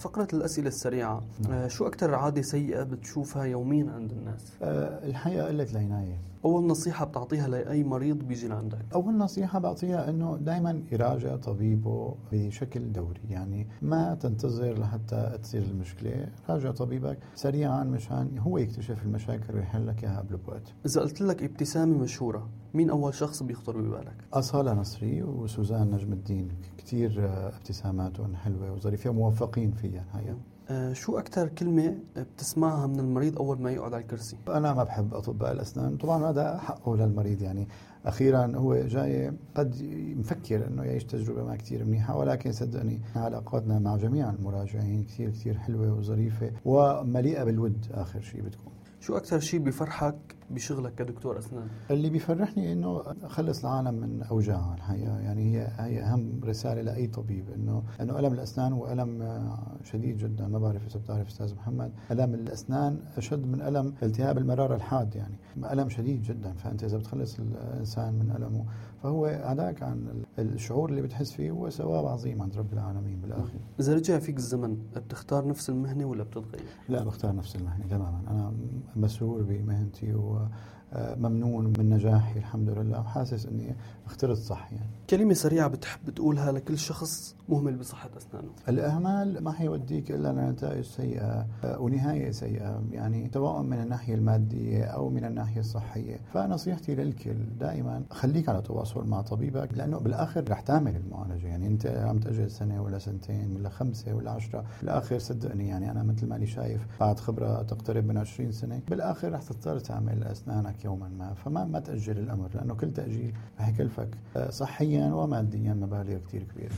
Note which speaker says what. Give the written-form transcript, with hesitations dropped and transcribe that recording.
Speaker 1: فقرة الأسئلة السريعة. شو أكتر عادة سيئة بتشوفها يوميا عند الناس؟
Speaker 2: الحقيقة قلة العناية.
Speaker 1: أول نصيحة بتعطيها لأي مريض بيجي لعندك؟
Speaker 2: أول نصيحة بعطيها أنه دائما يراجع طبيبه بشكل دوري، يعني ما تنتظر لحتى تصير المشكلة، راجع طبيبك سريعا مشان هو يكتشف المشاكل ويحل لك إياها قبل بوقت.
Speaker 1: إذا قلت لك ابتسامة مشهورة، مين أول شخص بيخطر ببالك؟
Speaker 2: أصالة نصري وسوزان نجم الدين، كتير ابتساماتهم حلوة وظريفة موفقين فيها الحقيقة.
Speaker 1: شو أكتر كلمة بتسمعها من المريض أول ما يقعد على الكرسي؟
Speaker 2: أنا ما بحب أطباء الأسنان، طبعا هذا حقه للمريض، يعني أخيرا هو جاي قد مفكر أنه يعيش تجربة ما كتير منيحة، ولكن صدقني علاقاتنا مع جميع المراجعين كتير كتير حلوة وظريفة ومليئة بالود. آخر شيء بتكون
Speaker 1: شو أكتر شيء بيفرحك بشغلك كدكتور أسنان؟
Speaker 2: اللي بيفرحني إنه أخلص العالم من أوجاعها الحقيقة، يعني هي أهم رسالة لأي طبيب، إنه ألم الأسنان هو ألم شديد جدا. ما بعرف إذا بتعرف أستاذ محمد، ألم الأسنان أشد من ألم التهاب المرارة الحاد، يعني ألم شديد جدا. فأنت إذا بتخلص الإنسان من ألمه فهو هذاك عن الشعور اللي بتحس فيه هو ثواب عظيم عند رب العالمين بالآخر.
Speaker 1: إذا رجع فيك الزمن بتختار نفس المهنة ولا بتتغير؟
Speaker 2: لا، بختار نفس المهنة تماما. أنا مسرور بمهنتي وممنون من نجاحي الحمد لله، وحاسس أني اخترت صح. يعني
Speaker 1: كلمة سريعة بتحب تقولها لكل شخص مهمل بصحة أسنانه؟
Speaker 2: الإهمال ما حيوديك إلا لنتائج سيئة ونهاية سيئة، يعني سواء من الناحية المادية أو من الناحية الصحية. فنصيحتي للكل دائما خليك على تواصل مع طبيبك، لأنه بالآخر رح تعمل المعالجة. يعني أنت عم تأجل سنة ولا سنتين ولا 5 ولا 10، بالآخر صدقني يعني أنا مثل ما أنا شايف بعد خبرة تقترب من 20 سنة بالآخر رح تضطر تعمل أسنانك يوما ما. فما تأجل الأمر، لأنه كل تأجيل رح يكلفك صحيا وماديا مبالغ كتير كبيرة.